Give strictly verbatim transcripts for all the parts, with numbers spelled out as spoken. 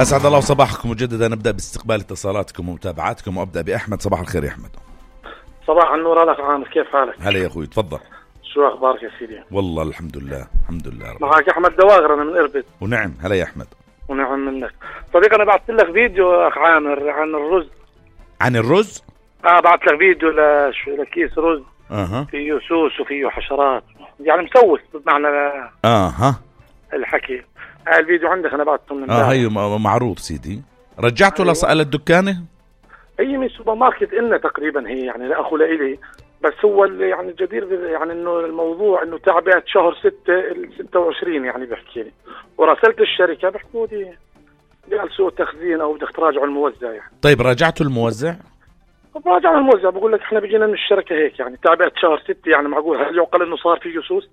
أسعد الله صباحكم مجددا. نبدأ باستقبال اتصالاتكم ومتابعاتكم وأبدأ بأحمد. صباح الخير يا أحمد. صباح النور. أهلا عامر، كيف حالك؟ هلا يا أخوي، تفضل. شو أخبارك يا سيدي؟ والله الحمد لله الحمد لله. معك أحمد دواغر، أنا من إربد. ونعم. هلا يا أحمد. ونعم منك صديقي. أنا بعثت لك فيديو أخ عامر عن الرز. عن الرز؟ آه بعثت لك فيديو لش... لكيس رز. أها. فيه سوس وفيه حشرات، يعني مسوس بمعنى. أها. الحكي هاي الفيديو عندك، أنا بعثته من آه هي معروض سيدي. رجعته أيوة. لصقل الدكانة؟ هي من سوبر ماركت إلنا تقريبا، هي يعني لأخو لإلي، بس هو اللي يعني الجدير يعني انه الموضوع انه تعبئة شهر ستة ستة وعشرين، يعني بحكي لي وراسلت الشركة بحكوا لي قال سوء تخزين او بدك تراجعوا الموزع. يعني طيب راجعتوا الموزع؟ راجعوا الموزع، بقول لك احنا بيجينا من الشركة هيك، يعني تعبئة شهر ستة، يعني معقول هل يعقل انه صار فيه سوس؟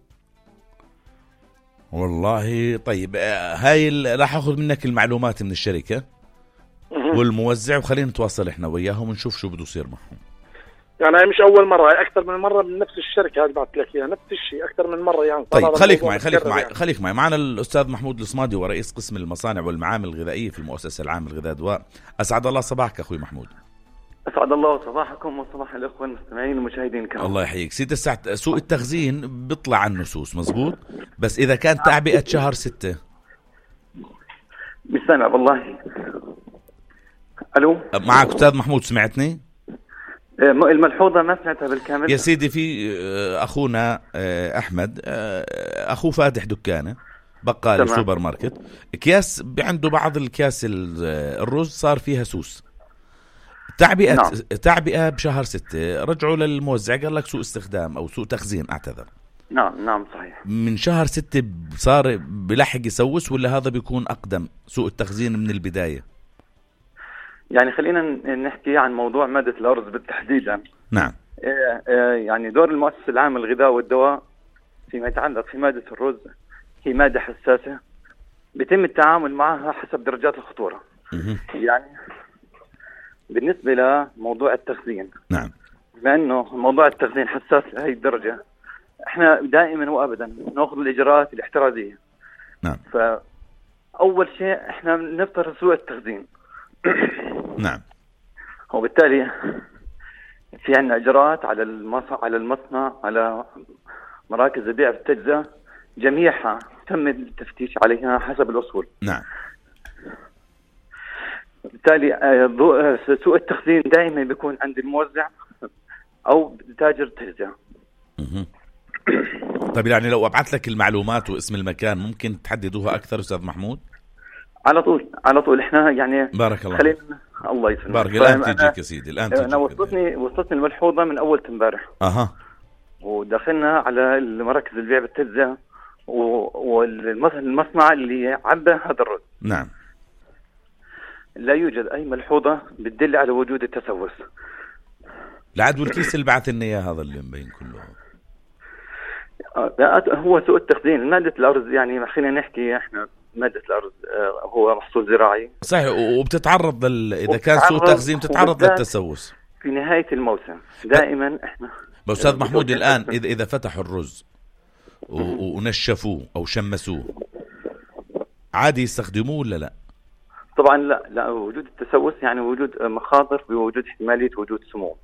والله طيب هاي راح اخذ منك المعلومات من الشركة والموزع وخلينا نتواصل احنا وياهم ونشوف شو بده يصير معهم. يعني هي مش أول مرة، هي أكثر من مرة من نفس الشركة هذه بعت لك إياها، نفس الشيء أكثر من مرة يعني. طيب خليك معي خليك معي يعني. خليك معي معنا الأستاذ محمود الصمادي ورئيس قسم المصانع والمعامل الغذائية في المؤسسة العامة للغذاء والدواء. أسعد الله صباحك أخوي محمود. أسعد الله صباحكم وصباح الأخوة المستمعين والمشاهدين كمان. الله يحييك سيدي. الساعة سوء التخزين بيطلع عنه سوس مزبوط، بس إذا كان تعبئة شهر ستة مش سامع والله. ألو معك أستاذ محمود، سمعتني؟ الملحوظة ما سمعتها بالكامل يا سيدي. في أخونا أحمد أخوه فاتح دكانة بقالة سوبر ماركت، أكياس عنده بعض الكياس الرز صار فيها سوس. تعبئة نعم. تعبئة بشهر ستة، رجعوا للموزع قال لك سوء استخدام أو سوء تخزين أعتذر. نعم نعم صحيح. من شهر ستة صار بلحق يسوس ولا هذا بيكون أقدم سوء التخزين من البداية؟ يعني خلينا نحكي عن موضوع مادة الأرز بالتحديد. نعم. يعني دور المؤسسة العامة للغذاء والدواء فيما يتعلق في مادة الرز هي مادة حساسة بيتم التعامل معها حسب درجات الخطورة. م- يعني بالنسبة لموضوع التخزين، نعم، بما أنه موضوع التخزين حساس لهي الدرجة، احنا دائما وأبدا نأخذ الإجراءات الاحترازية. نعم. فأول شيء احنا نفترض سوء التخزين. نعم. وبالتالي في عندنا إجراءات على المصنع على المصنع على مراكز البيع والتجزئة، جميعها تم التفتيش عليها حسب الأصول. نعم. بالتالي سوء التخزين دائما بيكون عند الموزع أو تاجر التجزئة. طيب يعني لو أبعث لك المعلومات واسم المكان ممكن تحددوها أكثر أستاذ محمود؟ على طول على طول احنا يعني بارك الله خلينا الله يسلمك. بارك. الآن تيجيك يا سيدي الآن تيجيك. أنا وصلتني وصلتني الملحوظة من أول امبارح. أها. ودخلنا على مراكز البيع بالتجزئة والمصنع اللي عبى هذا الرز. نعم. لا يوجد أي ملحوظة بتدل على وجود التسوس. العدو الكيس اللي بعث لنا إياه هذا اللي مبين كله هو سوء التخزين. مادة الأرز يعني خلينا نحكي احنا مادة الأرز هو محصول زراعي صحيح، وبتتعرض لل... إذا كان سوء تخزين بتتعرض للتسوس في نهاية الموسم دائما. احنا أستاذ محمود الآن إذا إذا فتحوا الرز و... ونشفوه أو شمسوه عادي يستخدموه ولا لا؟ طبعا لا لا وجود التسوس يعني وجود مخاطر بوجود احتمالية وجود سموم.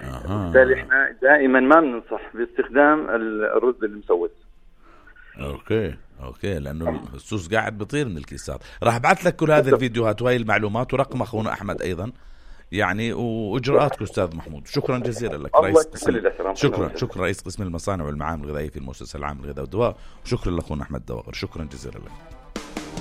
أها. بالتالي احنا دائما ما بننصح باستخدام الرز المسوس. اوكي اوكي لانه السوس قاعد بيطير من الكيسات. راح ابعث لك كل هذه الفيديوهات وهي المعلومات ورقم اخونا احمد ايضا يعني واجراءاتك استاذ محمود. شكرا جزيلا لك رئيس قسم. شكرا شكرا رئيس قسم المصانع والمعامل الغذائيه في المؤسسه العامه للغذاء والدواء، وشكرا لاخونا احمد دواغر. شكرا جزيلا لك.